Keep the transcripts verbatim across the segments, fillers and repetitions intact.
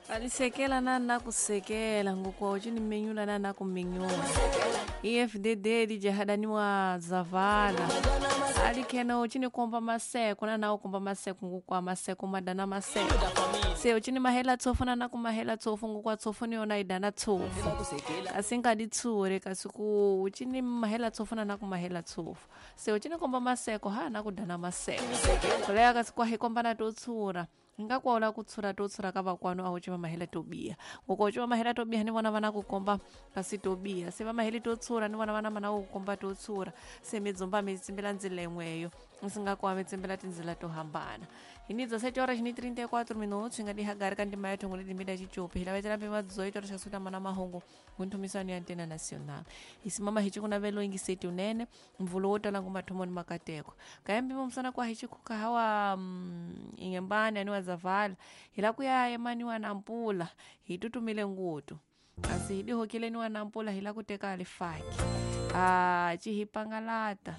Alisekela na nakusekela ngokwa uchini menyula na nakumenyula. E F D D lijahadaniwa zavala. Alikena uchini komba maseko na nao komba maseko ngokwa maseko madana maseko. Se uchini mahela tsofu na nakumahela tsofu ngokwa tsofu ni ona idana tsofu. Asinga ditsure kasiku uchini mahela tsofu na nakumahela tsofu. Se uchini komba maseko ha nakudana maseko. Kolea kasiku hikomba na totsura. Ngakwala kutsura totsura ka vakwanu a uchiva mahela tobia ngoko uchiva mahela tobia ni vona vana kukomba kasi tobia se va maheli totsura ni vona vana mana kukomba totsura se midzumba mi tsimbela ndzila yin'weyo singakwa mi tsimbela tindzila to hambana hi ni dezessete horas ni trinta e quatro minutos hi nga dihagari ka ndima ya thongo leti mida chichopi hi lavetela mpima dezoito horas xa mana mahungu ngunthumisano ya Antena Nacional hi simama hi chikunavelo ingiseti unene mvulo wo tala ngumathomo ni makateko kaya mpimo msana kwa hi chikhuka hawa mm, ingembani ani wa zavala hi la ku ya emaniwa na mpula hi tutumile ngutu kasi hi dihokileniwa na mpula hi la ku teka alifaki a chihipangalata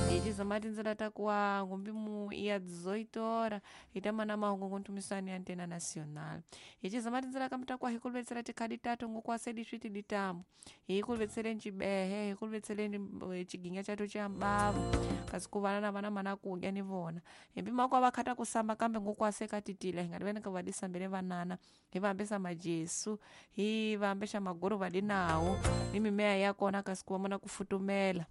hi chizama tindzela ta kuwa ngumbimu ya dezoito horas hi ta mana mahungu ngunthumisano ya Antena Nacional hi chizama tindzela kambe ta kuwa hi kuluvetsela tikhadi tato ngokwa sedi switi ditambo hi kuluvetseleni chibehe hi kuluvetseleni chiginya chato cha mbavu kasi ku vana na vana mana kudya ni vona hi mpima kwa va khata ku samba kambe ngokwa se ka titile hi nga ri ka va disambele vanana hi va hambesa majesu hi va hambesa magoro va dinawo ni mimea ya kona kasi ku va mona ku futumela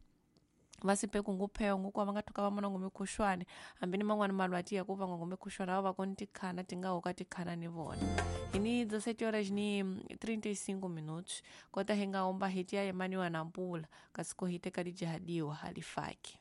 va sipe kungupheo ngokwa va nga thuka va mona ngomikhuxwani hambi ni man'wani malwati ya ku va ngomikhuxwani va va koni tikhana ti nga hoka tikhana ni vona hi ni dezessete horas ni trinta e cinco minutos kota hi nga omba hi tiya yemaniwa na mpula kasi ko hi teka dijahadiwa halifaki.